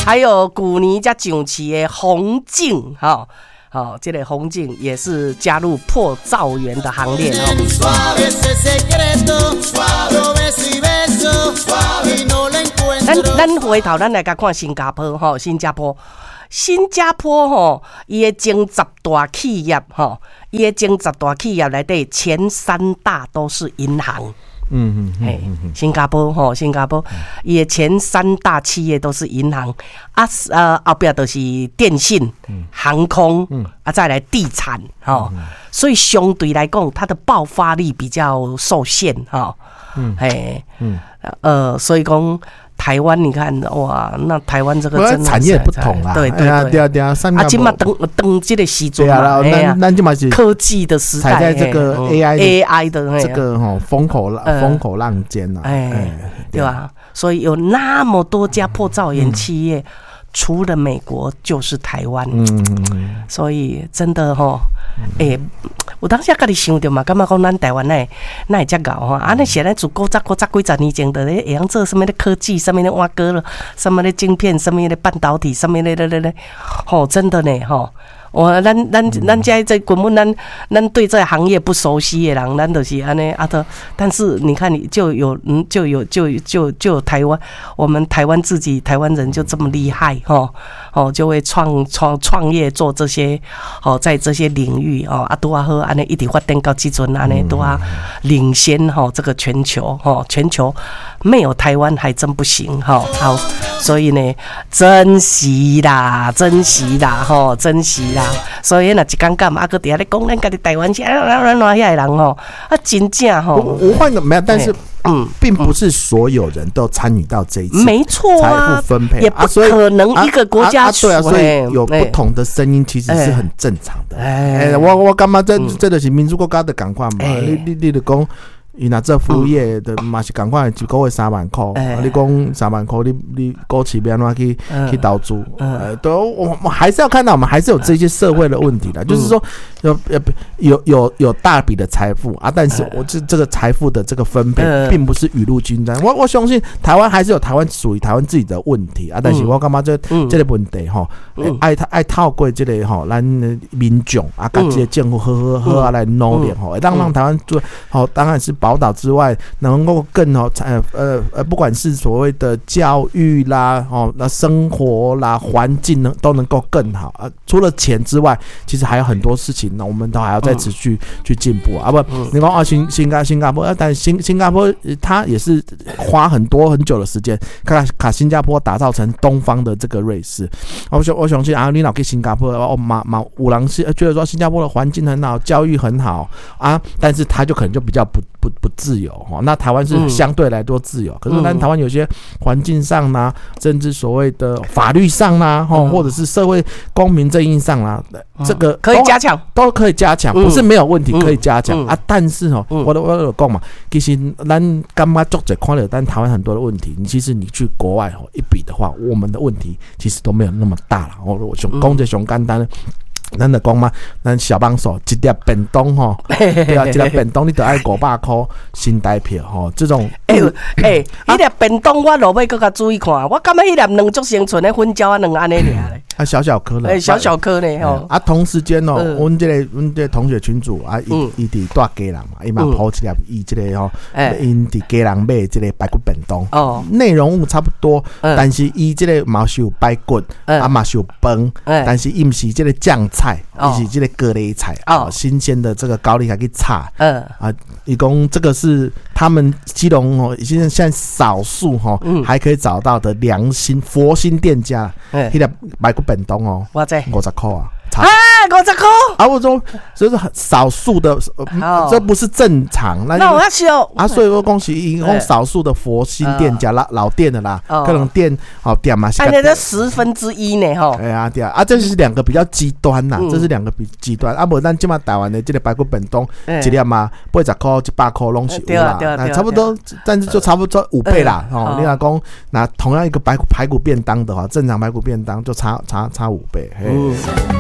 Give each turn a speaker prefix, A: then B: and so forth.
A: 還有舊年才上市的宏碁，吼，吼，這個宏碁也是加入破兆元的行列哦。咱回頭咱來共看新加坡吼，新加坡，新加坡吼，伊的前十大企業吼，伊的前十大企業內底前三大都是銀行。嘿，新加坡吼，新加坡伊的前三大企業都是銀行，啊，後壁就是電信、航空，啊，再來地產，吼，所以相對來講，它的爆發力比較受限，吼，嘿，所以講台灣，你看哇，那台灣這個真
B: 的產業不同啦，
A: 對對對
B: 對啊，
A: 啊，這馬當當這個時陣嘛，
B: 咱這馬是
A: 科技的時代，
B: 踩在這個 AI
A: AI 的
B: 這個吼風口浪尖呐，
A: 哎，對吧？所以有那麼多家破兆元企業，除了美國就是台灣，所以真的吼，欸，有當時家己想著嘛，感覺講咱台灣哪會遮𠢕吼？啊，那現在自古早古早幾十年前，就咧會曉做啥物咧科技，啥物咧碗糕咯，啥物咧晶片，啥物咧半導體，啥物咧咧咧咧，吼，真的呢，吼。我咱遮這根本咱對這個行業不熟悉的人，咱就是按呢啊都。但是你看，你就有就有就就就台灣，我們台灣自己台灣人就這麼厲害吼哦，就會創業做這些哦，在這些領域哦啊拄仔好按呢一直發展到這陣按呢拄仔領先吼這個全球吼，全球沒有台灣還真不行吼。好，所以呢，珍惜啦，珍惜啦，吼，珍惜啦。所以若一講講，啊，閣佇遐咧講咱家己台灣是按怎按怎遐个人吼，啊，真正吼。
B: 我換個沒有，但是並不是所有人都參與到這一次
A: 沒錯
B: 財富分配，
A: 也不可能一個國家
B: 對啊，所以有不同的聲音其實是很正常的。哎，我感覺這就是民主國家的仝款嘛？你就講，伊若做服務業的嘛是仝款，一個月3萬塊。你講3萬塊，你股市欲按怎去投資？對，我還是要看到，我們還是有這些社會的問題的，就是說有大筆的財富啊，但是我這個財富的這個分配，並不是雨露均沾。我相信台灣還是有台灣屬於台灣自己的問題啊，但是我感覺這個問題吼，愛透過這個吼，咱民眾啊，佮這個政府好好好啊來努力吼，讓台灣做好，當然是寶島之外，能夠更好，不管是所謂的教育啦，哦，那生活啦，環境呢，都能夠更好啊。除了錢之外，其實還有很多事情呢，我們都還要再持續去進步啊。不，你講啊，新加坡，但新加坡它也是花很多很久的時間，共新加坡打造成東方的這個瑞士。我相信啊，你若去新加坡哦，嘛嘛有人是覺得說新加坡的環境很好，教育很好啊，但是他就可能就比較不自由哈。那台灣是相對來說自由，可是咱台灣有些環境上呢，甚至所謂的法律上啦，或者是社會公平正義上啦，這個
A: 可以加強，
B: 都可以加強，不是沒有問題，可以加強啊。但是哦，我有講嘛，其實咱感覺足濟看著咱台灣很多的問題，你其實你去國外哦一比的話，我們的問題其實都沒有那麼大了。我想講這上簡單。咱就講嘛，咱小幫手一粒便當吼，對啊，一粒便當你著愛500塊新台票吼，這種
A: 欸欸，彼粒便當我落尾閣較注意看，我感覺彼粒卵足成賰咧粉鳥仔卵按呢爾咧。
B: 啊，小小顆的，
A: 欸，小小顆呢吼。
B: 啊，同時間哦，阮這個同學群組啊，伊佇蹛基隆嘛，伊嘛 po 一粒伊這個吼，𪜶佇基隆買這個排骨便當，內容物差不多，但是伊這個嘛是有排骨，啊嘛是有飯，但是伊毋是這個醬菜，伊是這個高麗菜，哦，新鮮的這個高麗菜去炒，啊，伊講這個是他們基隆哦，現在少數吼還可以找到的良心佛心店家，彼粒排骨便當哦，50塊啊！
A: 啊，50塊！
B: 啊，我說這是很少數的，這不是正常。
A: 那我要修
B: 啊，所以說恭喜，一共少數的佛心店家啦，老店的啦，各種店好店嘛。
A: 按呢這1/10呢，吼。
B: 哎呀，對啊，啊，這是兩個比較極端吶，這是兩個比極端。啊，無咱這馬台灣的這個排骨便當，一粒嘛，80塊、100塊攏是有啦，差不多，但是就差不多5倍啦。哦，你若講那同樣一個排骨便當的話，正常排骨便當就差5倍。